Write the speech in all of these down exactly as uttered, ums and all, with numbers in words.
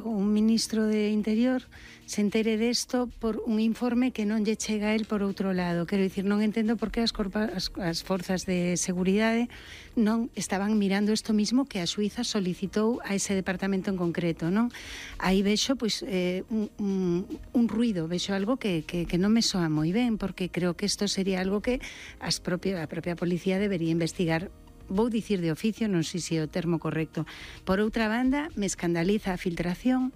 un ministro de Interior se entere desto por un informe que non lle chega a él por outro lado. Quero dicir, non entendo por que as, corpa, as, as forzas de seguridade non estaban mirando isto mismo que a Suiza solicitou a ese departamento en concreto, non? Aí vexo pois, eh, un, un, un ruido, vexo algo que, que, que non me soa moi ben, porque creo que isto sería algo que as propia, a propia policía debería investigar. Vou dicir de oficio, non sei se é o termo correcto. Por outra banda, me escandaliza a filtración.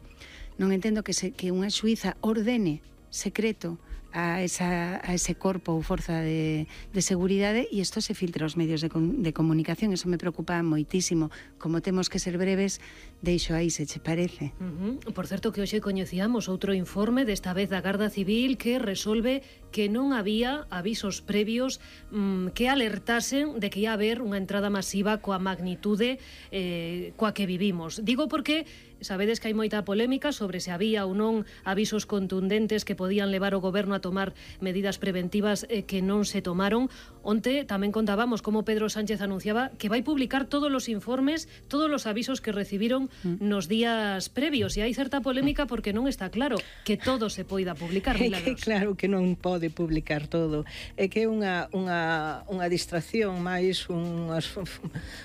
Non entendo que, se, que unha suiza ordene secreto a, esa, a ese corpo ou forza de, de seguridade e isto se filtra aos medios de, de comunicación. Eso me preocupa moitísimo. Como temos que ser breves, deixo aí, se che parece. Uh -huh. Por certo que hoxe coñecíamos outro informe, desta vez da Garda Civil, que resolve que non había avisos previos mmm, que alertasen de que ia haber unha entrada masiva coa magnitude eh, coa que vivimos. Digo porque sabedes que hai moita polémica sobre se había ou non avisos contundentes que podían levar o goberno a tomar medidas preventivas eh, que non se tomaron. Onte tamén contábamos como Pedro Sánchez anunciaba que vai publicar todos os informes, todos os avisos que recibiron nos días previos, e hai certa polémica porque non está claro que todo se poida publicar. É que claro que non pode publicar todo, é que é unha, unha, unha distracción máis un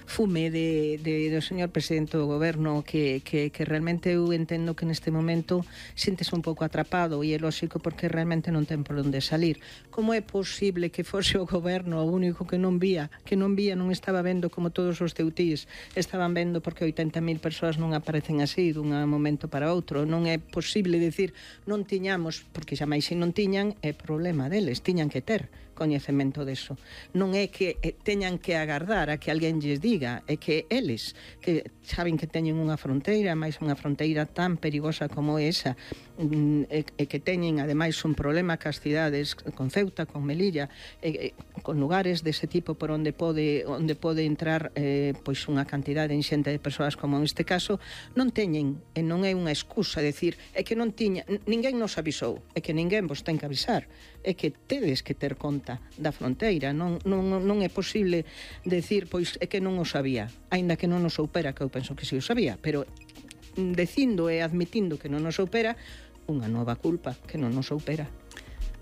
fume de, de, do señor presidente do goberno que, que, que realmente eu entendo que neste momento sintese un pouco atrapado, e é lógico porque realmente non ten por onde salir. Como é posible que fose o goberno o único que non vía, que non vía, non estaba vendo como todos os teutís estaban vendo, porque oitenta mil persoas non aparecen así dun momento para outro. Non é posible decir non tiñamos, porque xa máis se non tiñan é problema deles, tiñan que ter coñecemento deso. Non é que eh, teñan que agardar a que alguén lles diga, é que eles, que saben que teñen unha fronteira, máis unha fronteira tan perigosa como esa, e, e que teñen ademais un problema cas cidades, con Ceuta, con Melilla, e, e, con lugares dese tipo por onde pode onde pode entrar eh, pois unha cantidade inxente de persoas como neste caso, non teñen, e non é unha excusa decir, é que non tiña, ninguén nos avisou, é que ninguén vos ten que avisar, é que tedes que ter conta da fronteira, non, non, non é posible decir, pois é que non o sabía, aínda que non o soupera, que eu penso que si o sabía, pero dicindo e admitindo que non o soupera, unha nova culpa que non o soupera.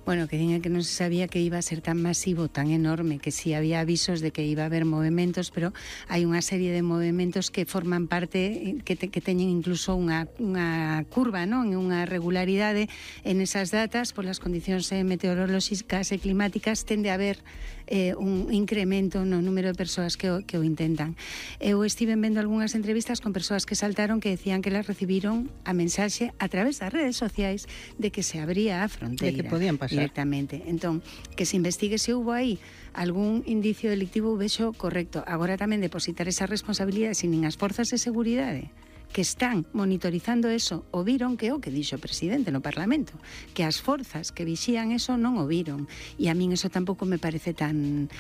Bueno, que diga que non se sabía que iba a ser tan masivo, tan enorme, que sí había avisos de que iba a haber movimentos, pero hai unha serie de movimentos que forman parte, que, te, que teñen incluso unha, unha curva, non? Unha regularidade en esas datas, por las condicións meteorolóxicas e climáticas, tende a haber eh, un incremento no número de persoas que o, que o intentan. Eu estive vendo algunhas entrevistas con persoas que saltaron que decían que las recibiron a mensaxe a través das redes sociais de que se abría a fronteira. De que podían pasar directamente. Entón, que se investigue se houve aí algún indicio delictivo, vexo correcto. Agora tamén depositar esa responsabilidade sin nin as forzas de seguridade que están monitorizando eso o viron, que é o que dixo o presidente no Parlamento, que as forzas que vixían eso non o viron, e a min eso tampouco me parece tan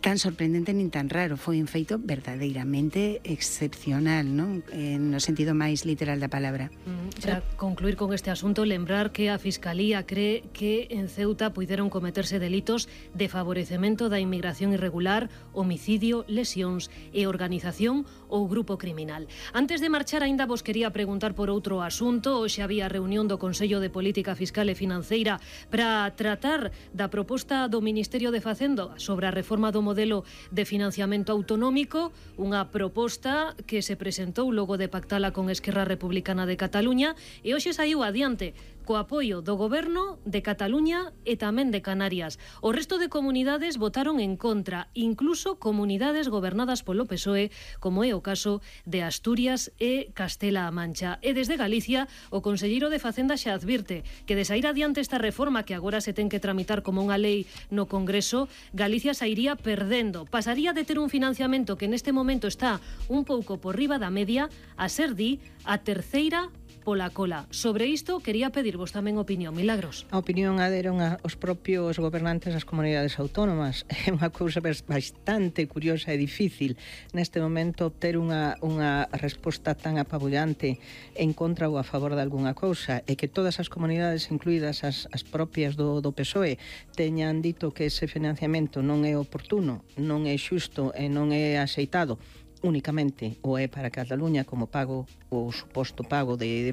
tan sorprendente nin tan raro. Foi un feito verdadeiramente excepcional, non? Eh, no sentido máis literal da palabra. Mm, para concluir con este asunto, lembrar que a Fiscalía cree que en Ceuta puideron cometerse delitos de favorecemento da inmigración irregular, homicidio, lesións e organización ou grupo criminal. Antes de marchar, aínda vos quería preguntar por outro asunto. Hoxe había reunión do Consello de Política Fiscal e Financeira para tratar da proposta do Ministerio de Facenda sobre a reforma do modelo de financiamento autonómico, unha proposta que se presentou logo de pactala con Esquerra Republicana de Cataluña, e hoxe saiu adiante co apoio do Goberno de Cataluña e tamén de Canarias. O resto de comunidades votaron en contra, incluso comunidades gobernadas polo P S O E, como é o caso de Asturias e Castela-A Mancha. E desde Galicia, o conselleiro de Facenda xa advirte que de sair adiante esta reforma, que agora se ten que tramitar como unha lei no Congreso, Galicia sairía perdendo. Pasaría de ter un financiamento que neste momento está un pouco por riba da media a ser, di, a terceira pola cola. Sobre isto quería pedirvos tamén opinión. Milagros. A opinión a deron a, os propios gobernantes das comunidades autónomas. É unha cousa bastante curiosa e difícil neste momento obter unha, unha resposta tan apabullante en contra ou a favor de algunha cousa, e que todas as comunidades, incluídas as, as propias do, do P S O E, teñan dito que ese financiamento non é oportuno, non é xusto e non é axeitado únicamente ou é para Cataluña como pago, o suposto pago de, de